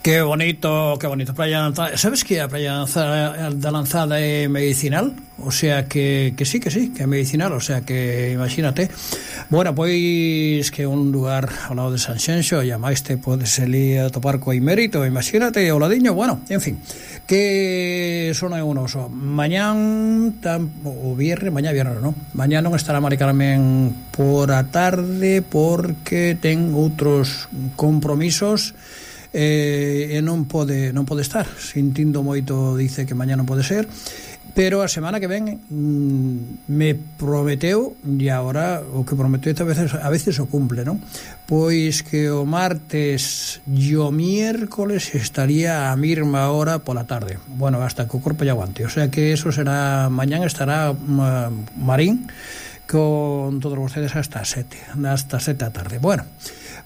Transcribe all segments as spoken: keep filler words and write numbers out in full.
Qué bonito, qué bonito. Praia Lanzada. ¿Sabes que a Praia da Lanzada é medicinal? O sea que, que sí, que sí, que é medicinal. O sea que imagínate. Bueno, pois que é un lugar ao lado de Sanxenxo, e a máis te podes ali a topar co Imérito, imagínate, ao ladiño. Bueno, en fin, que son é un oso. Mañán, tam, o viernes, mañá viernes, non? Mañá non estará Mari Carmen por a tarde porque ten outros compromisos. Eh, e non pode non pode estar, sintindo moito, dice que mañá non pode ser, pero a semana que ven mm, me prometeu, e agora o que prometeu a veces, a veces o cumple, non? Pois que o martes e o miércoles estaría a mesma hora pola tarde, bueno, hasta que o corpo lle aguante, o sea que eso será, mañán estará uh, Marín con todos vostedes hasta sete, hasta sete da tarde. Bueno,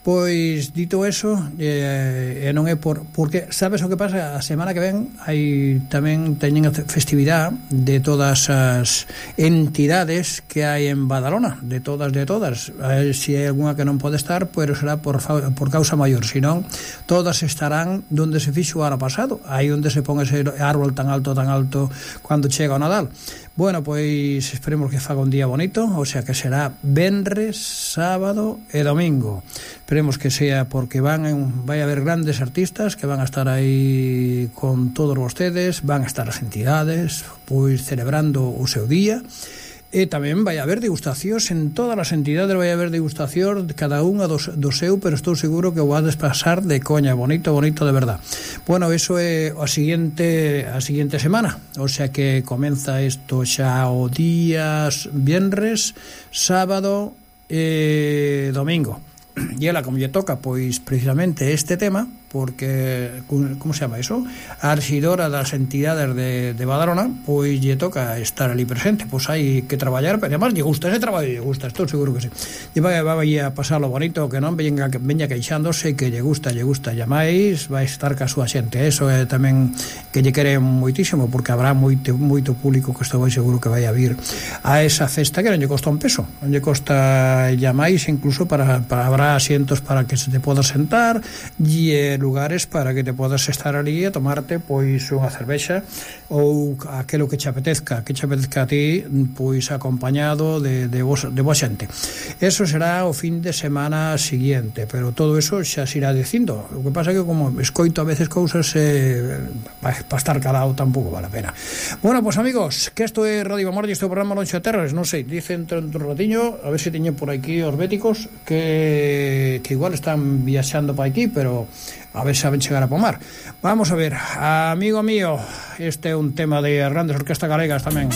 pois dito eso, eh, e non é por porque sabes o que pasa, a semana que ven hai tamén teñen a festividade de todas as entidades que hai en Badalona, de todas de todas. Se si hai algunha que non pode estar, pero será por por causa maior, senón todas estarán donde se fixo o ano pasado, aí onde se pon ese árbol tan alto tan alto cando chega o Nadal. Bueno, pois esperemos que faga un día bonito, o sea que será venres, sábado e domingo. Esperemos que sea porque van en, vai a haber grandes artistas que van a estar aí con todos vostedes, van a estar as entidades pois celebrando o seu día. E tamén vai haber degustacións en todas as entidades, vai haber degustacións de cada unha do, do seu, pero estou seguro que o vades pasar de coña, bonito, bonito de verdad. Bueno, eso é a seguinte a seguinte semana, o sea que comeza isto xa o días venres, sábado e domingo. E ela, como lle toca, pois precisamente este tema, porque, como se chama iso? A arxidora das entidades de, de Badalona, pois lle toca estar ali presente, pois hai que traballar, pero además lle gusta ese traballo, lle gusta, estou seguro que sí. E vai, vai a pasarlo bonito, que non veña, veña queixándose, que lle gusta, lle gusta, e máis vai estar ca súa xente. Eso é tamén que lle quere moitísimo, porque habrá moito, moito público que estou seguro que vai a vir a esa festa que non lle costa un peso, non lle costa, e máis incluso para, para habrá asientos para que se te podas sentar e lugares para que te podas estar ali a tomarte pois unha cervexa ou aquelo que che apetezca, que che apetezca a ti, pois acompañado de, de, vos, de vos xente. Eso será o fin de semana siguiente, pero todo eso xa se irá dicindo. O que pasa é que como escoito a veces cousas eh, para pa estar calado tampouco vale a pena. Bueno, pois pues, amigos, que isto é Radio Amor e este programa Lonxa Terras, non sei, dicen entre un ratiño, a ver se teñen por aquí os béticos que, que igual están viaxando para aquí, pero a ver se saben chegar a pomar. Vamos a ver, amigo mío, este é un tema de grandes orquestas galegas tamén.